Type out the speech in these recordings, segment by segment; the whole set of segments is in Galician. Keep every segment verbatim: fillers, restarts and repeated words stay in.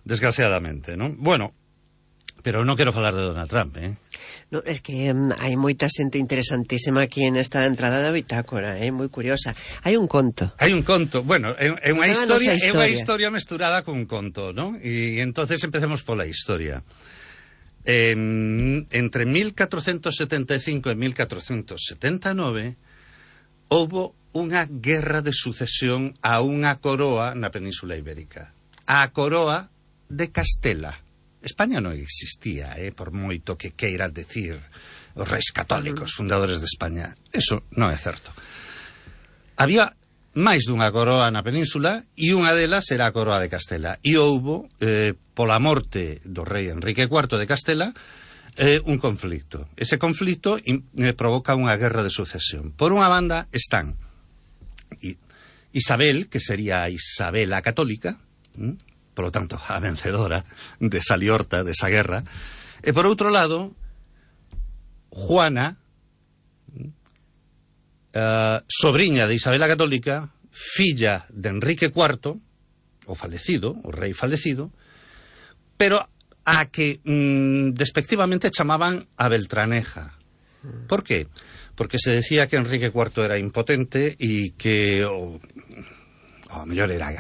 desgraciadamente, non? Bueno, pero non quero falar de Donald Trump, eh? No, es que um, hai moita xente interesantísima aquí nesta entrada da bitácora, é eh? moi curiosa. Hai un conto. Hai un conto, bueno, é, é unha historia, historia, é unha historia mesturada cun conto, non? E entonces empecemos pola historia. En, entre mil catrocentos setenta e cinco e mil catrocentos setenta e nove houbo unha guerra de sucesión a unha coroa na Península Ibérica. A coroa de Castela. España non existía, eh, por moito que queiran decir os reis católicos, fundadores de España. Eso non é certo. Había máis dunha coroa na península e unha delas era a coroa de Castela. E houbo, eh, pola morte do rei Enrique cuarto de Castela, eh, un conflicto. Ese conflicto eh, provoca unha guerra de sucesión. Por unha banda están Isabel, que sería a Isabela católica, ¿m? Por lo tanto, a vencedora de esa liorta, de esa guerra. E por outro lado, Juana, uh, sobrinha de Isabela Católica, filla de Enrique cuarto, o falecido, o rei falecido, pero a que mm, despectivamente chamaban a Beltraneja. Por qué? Porque se decía que Enrique cuarto era impotente e que o, o mellor era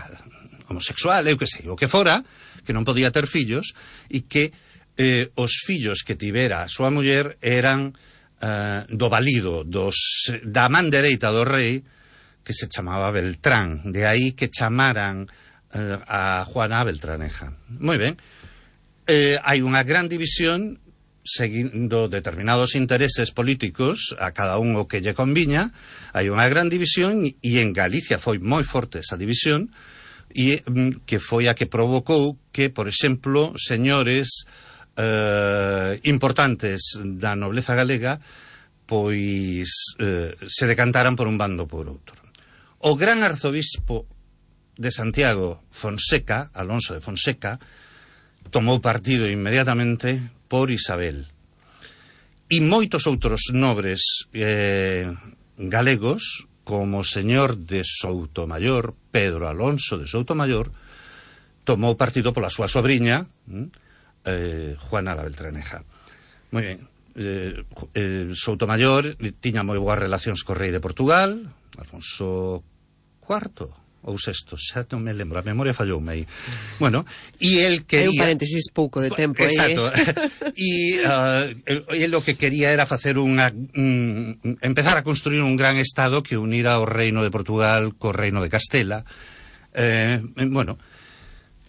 homosexual, eu que sei, o que fora, que non podía ter fillos, e que eh, os fillos que tivera a súa muller eran eh, do valido, dos, da man dereita do rei, que se chamaba Beltrán, de aí que chamaran eh, a Juana Beltraneja. Moi ben, eh, hai unha gran división seguindo determinados intereses políticos, a cada un o que lle conviña, hai unha gran división, e en Galicia foi moi forte esa división, e que foi a que provocou que, por exemplo, señores eh, importantes da nobleza galega pois eh, se decantaran por un bando por outro. O gran arzobispo de Santiago, Fonseca, Alonso de Fonseca, tomou partido inmediatamente por Isabel. E moitos outros nobres eh, galegos, como o señor de Soutomayor, Pedro Alonso de Soutomayor, tomou partido pola súa sobrinha, eh, Juana la Beltraneja. Moi ben, eh, eh, Soutomayor tiña moi boas relacións co rei de Portugal, Alfonso cuarto ou sexto, xa non me lembro, a memoria falloume aí. Bueno, e el quería... Hai un paréntesis pouco de tempo aí. Exacto. E uh, el lo que quería era facer unha... Um, empezar a construir un gran estado que unira o reino de Portugal co reino de Castela. Eh, bueno,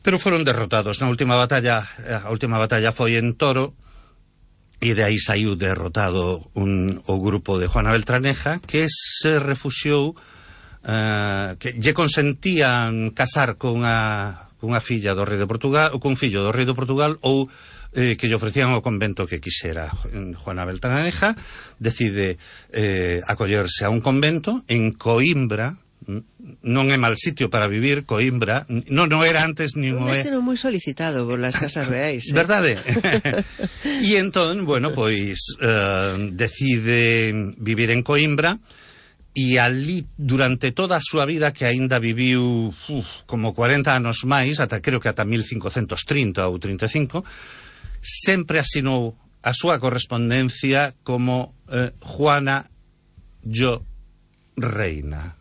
pero foron derrotados na última batalla. A última batalla foi en Toro, e de aí saiu derrotado un, o grupo de Juana Beltraneja, que se refuxiou, uh, que lle consentían casar con unha, con unha filla do rei de Portugal, ou con un fillo do rei de Portugal, ou eh, que lle ofrecían o convento que quixera. Juana Beltraneja decide eh, acollerse a un convento en Coimbra. Non é mal sitio para vivir, Coimbra. Non, non era antes nin un destino moi solicitado por las casas reais, eh? Verdade? E entón, bueno, pois eh, decide vivir en Coimbra, e ali durante toda a súa vida, que aínda viviu uf, como cuarenta anos máis, ata creo que ata mil cincocentos trinta ou trinta e cinco, sempre asinou a súa correspondencia como eh, Juana yo reina,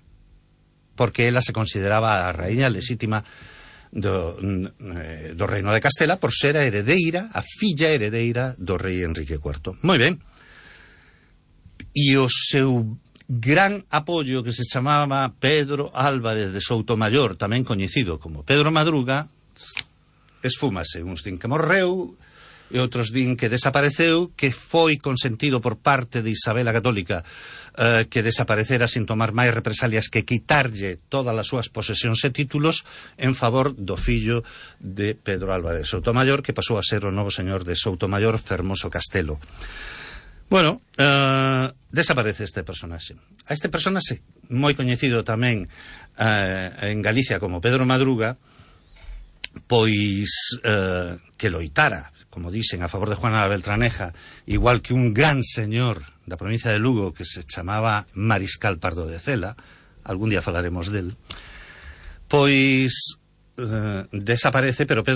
porque ela se consideraba a raíña lexítima do, do reino de Castela por ser a heredeira, a filla heredeira do rei Enrique cuarto. Moi ben. E o seu gran apoio, que se chamaba Pedro Álvarez de Soutomayor, tamén coñecido como Pedro Madruga, esfúmase. Uns din que morreu, e outros din que desapareceu, que foi consentido por parte de Isabela Católica eh, que desaparecera sin tomar máis represalias, que quitarlle todas as súas posesións e títulos en favor do fillo de Pedro Álvarez de Soutomayor, que pasou a ser o novo señor de Soutomayor, Fermoso Castelo. Bueno, eh, desaparece este personaxe. A este personaxe, moi coñecido tamén eh, en Galicia como Pedro Madruga, pois eh, que loitara, como dicen, a favor de Juana Beltraneja, igual que un gran señor da provincia de Lugo que se chamaba Mariscal Pardo de Cela, algún día falaremos del, pois eh, desaparece, pero Pedro